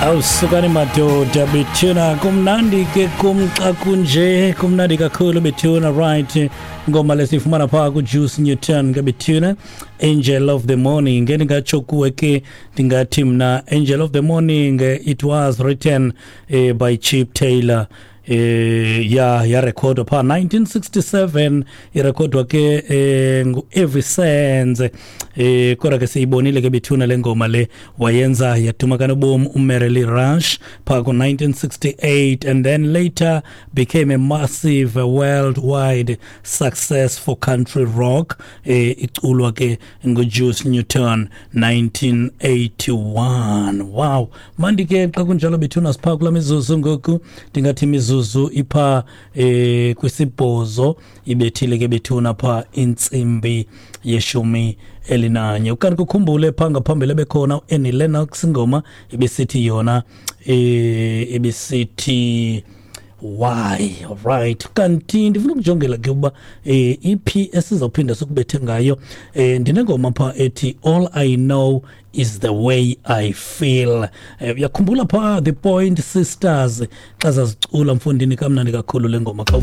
Awusukani madoda bethuna, kumnandi ke kum xa kunje, kumnandi kakhulu bethuna. Right, ngoma lesiyifumana phaa kuJuice Newton ke bethuna, Angel of the Morning. Ngendingatsho kuwe ke, ndingathi mna Angel of the Morning, it was written by Chip Taylor. Ya yarekhodwa phaa 1967, irekhodwa ke ngu-Every Sense. Kodwa ke siyibonile ke bethuna le ngoma le wayenza yaduma kanobom uMerrill Rush phaa ku-1968, and then later became a massive worldwide success for country rock, iculwa ke nguJuice Newton 1981. Wow, mandi ke xa kunjalo bethuna, siphaa kula mizuzu ngoku, ndingathi imizuzu ipha kwisibhozo ibethile ke bethuna pha intsimbi ye-11. Ukanti kukhumbule phaa ngaphambili ebekhona uAnnie Lennox, ingoma ibisithi yona ibisithi Why. Right, kanti ndifuna ukujongela ke uba iphi esizawuphinda sikubethe ngayo. Ndinengoma phaa ethi All I Know Is the Way I Feel. Uyakhumbula phaa The Point Sisters xa zazicula, mfondini, kamnandi kakhulu le ngoma xa